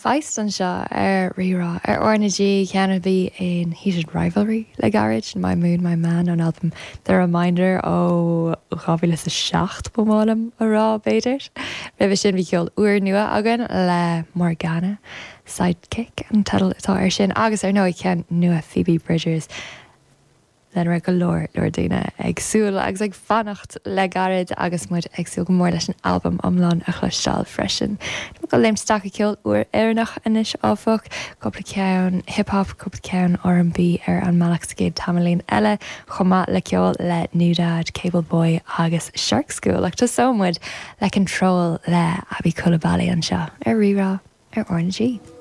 Feist anseo ar Rí-Rá ar R na G, ceann a bhí in Heated Rivalry le gairid, My Moon, My Man ón albam The Reminder ó 2007 ba mhaith liom a rá, b'fhéidir. Roimhe sin bhí ceol úrnua againn le Morgana, Sidekick an teideal atá air sin, agus ar ndóigh ceann nua Phoebe Bridgers, lena raibh go leor leor daoine ag súil agus ag fanacht le gairid agus muid ag súil go mór leis an albam iomlán a chloisteáil freisin. Tá muid ag léimt isteach i gceol úr Éireannach anois áfach, cúpla ceann hip hop, cúpla ceann R&B ar an mbealach sa gcéad tamaillín eile, chomh maith le ceol le NewDad, Cable Boy agus Shark School. Ach tosóidh muid le Control le Aby Coulibaly anseo ar Rí-Rá ar RnaG.